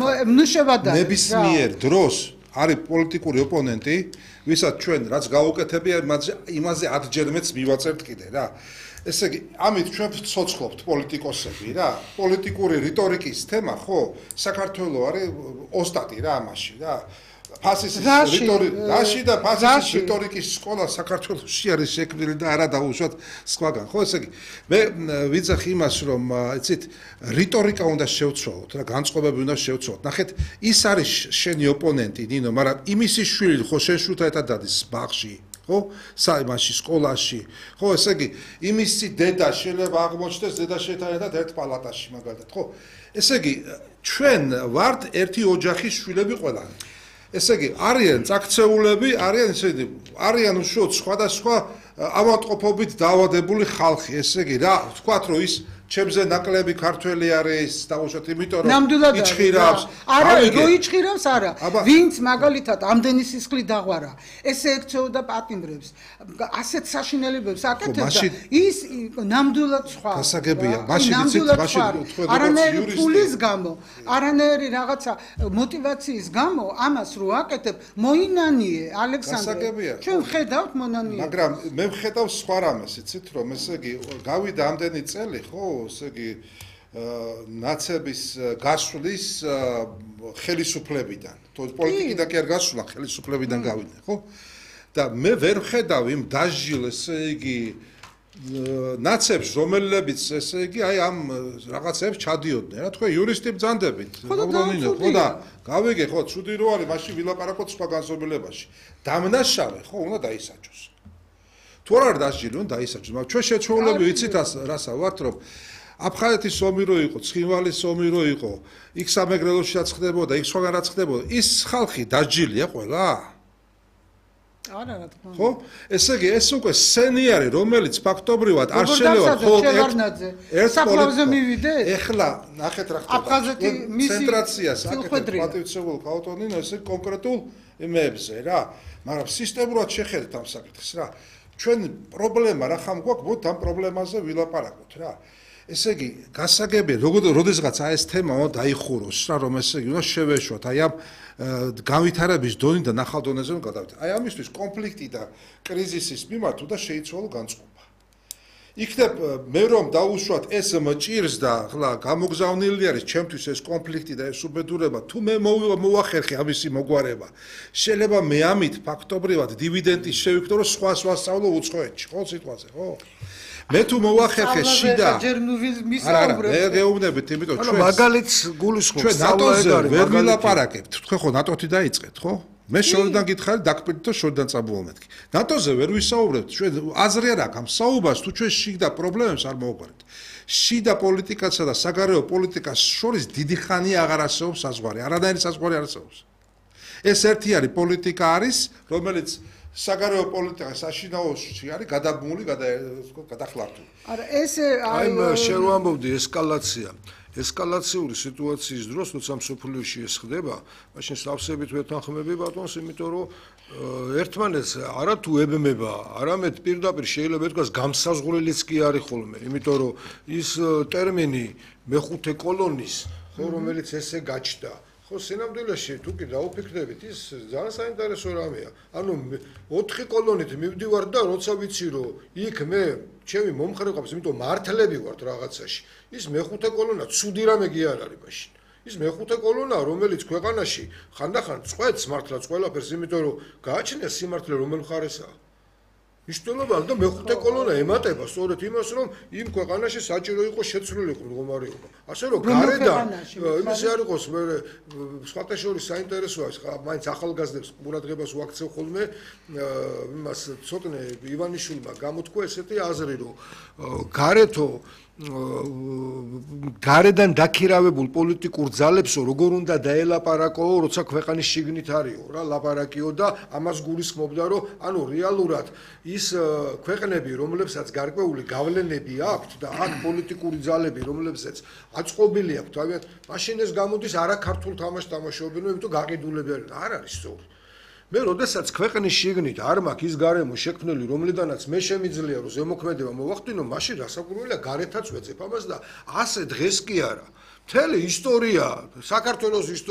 ნებისმიერ დროს არის პოლიტიკური ოპონენტი, ვისაც ჩვენ რაც გავუკეთებია, იმაზე 10-ჯერ მეც მივაწერთ კიდე რა. ესე იგი, ამით ჩვენ ვცოცხლობთ პოლიტიკოსები რა. პოლიტიკური რიტორიკის თემა, ხო, საქართველოს არის ოსტატი რა ამაში რა. ფასისის რიტორიკის სკოლა საქართველოში არის შექმნილი და არა დაუშვათ სხვაგან. ხო, ესე იგი, მე ვიძახი იმას, რომ იცით, რიტორიკა უნდა შევცვალოთ რა, განწყობები უნდა შევცვალოთ. ნახეთ, ის არის შენი ოპონენტი, ნინო, მაგრამ იმისი შვილი ხო შენ შვილთან ერთად დადის ბაღში. ხო, საიმაში, სკოლაში. ხო, ესე იგი, იმისი დედა შეიძლება აღმოჩნდეს დედა შეთან ერთად ერთ პალატაში მაგალითად, ხო? ესე იგი, ჩვენ ვართ ერთი ოჯახის შვილები ყველანი. ესე იგი, არიან წაქცეულები, არიან უშუალოდ სხვადასხვა ავადმყოფობით დაავადებული ხალხი. ესე იგი, რა, ვთქვათ, რომ ის ჩემზე ნაკლები ქართველი არის, დაუშვათ, იმიტომ რომ იჩხირავს. არა, რო იჩხირავს, არა. ვინც მაგალითად ამდენი სისხლი დაღვარა, ესე ექცეოდა პატიმრებს, ასეთ საშინელებებს აკეთებდა, ის ნამდვილად სხვა. გასაგებია, მაშინ იცით, მაშინ არანაირი ფულის გამო, არანაირი რაღაცა мотиваციის გამო ამას რო აკეთებ, მოინანიე, ალექსანდრე. ჩვენ ხედავთ მონანიე. მაგრამ მე ვხედავ სხვა რამეს, იცით, რომ ესე იგი, გავიდა ამდენი წელი, ხო? ესე იგი ნაცების გასვლის ხელისუფლებიდან. პოლიტიკიდან კი არ გასვლა, ხელისუფლებიდან გავიდნენ, ხო? და მე ვერ ვხედავ იმ დაჟილ, ესე იგი, ნაცებს, რომელებიც, ესე იგი, აი ამ რაღაცებს ჩადიოდნენ. რა თქვა, იურისტი ბრძანდებით. ხო და გავიგე, ხო, ცუდი რო არის, მაშინ ვილაპარაკოთ სხვა განზომილებაში. დამნაშავე, ხო, უნდა დაისაჯოს. თუ არ დაჟილი, უნდა დაისაჯოს, მაგრამ ჩვენ შეჩვეულები ვიცით რასა ვართ, რომ აფხაზეთის ომი რო იყო, ცხინვალის ომი რო იყო, იქ სამეგრელოშიც ხდებოდა, იქ სხვაგან რაც ხდებოდა, ის ხალხი დაჟილია ყველა? არა, რა თქმა უნდა. ხო? ესე იგი, ეს უკვე სცენი არის, რომელიც ფაქტობრივად არ შეიძლება მხოლოდ ერთ საფლავზე მივიდე. ეხლა, ნახეთ რა ხდება. აფხაზეთი მისი ცენტრაციას აკეთებს პატივცემულ კანტონინო, ესე კონკრეტულ იმებზე რა. მაგრამ სისტემურად შეხედეთ ამ საკითხს რა. ჩვენ პრობლემა რა ხამ გვაქვს, მოდი ამ პრობლემაზე ვილაპარაკოთ რა. ესე იგი, გასაგებია, როდესაც ეს თემა დაიხუროს რა, რომ ესე იგი, უნდა შევეშვათ, აი ამ განვითარების დონიდან ახალ დონეზე რომ გადავიდეთ. აი ამისთვის კონფლიქტი და კრიზისის მიმართ უნდა შეიცვალო განწყობა. იქნებ მე რომ დაუშვათ ეს მჭირს და ხლა გამოგზავნილი არის ჩემთვის ეს კონფლიქტი და ეს უბედურება, თუ მე მოვახერხე ამისი მოგვარება, შეიძლება მე ამით ფაქტობრივად დივიდენდი შევიქნო, რომ სხვას ვასწავლო უცხოეთში, ხო სიტყვაზე, ხო? მე თუ მოვახერხე შიდა არა, მე გეუბნებით, იმიტომ ჩვენ მაგალითს გულისხმობ ჩვენ ნატოზე ვერ ვილაპარაკებთ, თქვენ ხო ნატოთი დაიწყეთ, ხო? მე შორიდან გითხარით, დაგპირდით და შორიდან წაბულობ მეთქი. ნატოზე ვერ ვისაუბრებთ, ჩვენ აზრი არ აქვს ამ საუბარს, თუ ჩვენ შიდა პრობლემებს არ მოვაგვარებთ. შიდა პოლიტიკასა და საგარეო პოლიტიკას შორის დიდი ხანია აღარ არსებობს საზღვარი, არანაირი საზღვარი არ არსებობს. ეს ერთი არის პოლიტიკა არის, რომელიც საგარეო პოლიტიკა საშინაოში არის გადაბმული, გადახლართული. არა, ეს აი შენ ვამბობდი ესკალაცია. ესკალაციური სიტუაციის დროს, როცა მსოფლიოში ეს ხდება, მაშინ სავსებით ვეთანხმები ბატონს, იმიტომ რომ ერთმანეთს არა თუ ებმება, არამედ პირდაპირ შეიძლება ითქვას გამსაზღვრელიც კი არის ხოლმე, იმიტომ რომ ის ტერმინი მეხუთე კოლონის, ხო, რომელიც ესე გაჩნდა. ხო, სინამდვილეში თუ კი დაუფიქრდებით, ის ძალიან საინტერესო რამეა. ანუ 4 კოლონით მივდივარ და როცა ვიცი რომ იქ მე ჩემი მომხრე ყავს, იმიტომ მართლები ვართ რაღაცაში. ის მეხუთე კოლონა ცუდი რამე კი არ არის მაშინ. ის მეხუთე კოლონა, რომელიც ქვეყანაში ხანდახან წყვეტს მართლაც ყველაფერს, იმიტომ რომ გააჩნია სიმართლე რომელ მხარესაა. მნიშვნელობა და მეხუთე კოლონა ემატება სწორედ იმას, რომ იმ ქვეყანაში საჭირო იყო შეცვლილიყო მდგომარეობა. ასე რომ გარედან იმის არ იყოს მე სხვათა შორის საინტერესოა ის მაინც ახალგაზრდებს ყურადღებას ვაქცევ ხოლმე იმას ცოტნე ივანიშვილმა გამოთქვა ესეთი აზრი, რომ გარედან დაქირავებულ პოლიტიკურ ძალებსო როგორ უნდა დაელაპარაკოო, როცა ქვეყანის შიგნით არისო რა ლაპარაკიო და ამას გულისხმობდა, რომ ანუ რეალურად ის ქვეყნები, რომლებსაც გარკვეული გავლენები აქვთ და აქ პოლიტიკური ძალები, რომლებსაც აწყობილი აქვთ, თავიანთ მაშინ ეს გამოდის არა ქართულ თამაშს თამაშობენ, იმიტომ გაყიდულები არ არის სწორი. მე როდესაც ქვეყნის შიგნით არ მაქვს ის გარემო შექმნილი, რომლიდანაც მე შემიძლია რომ ზემოქმედება მოვახდინო, მაშინ რასაკვირველია გარეთაც ვეძებ ამას და ასე დღეს კი არა. მთელი ისტორია, საქართველოს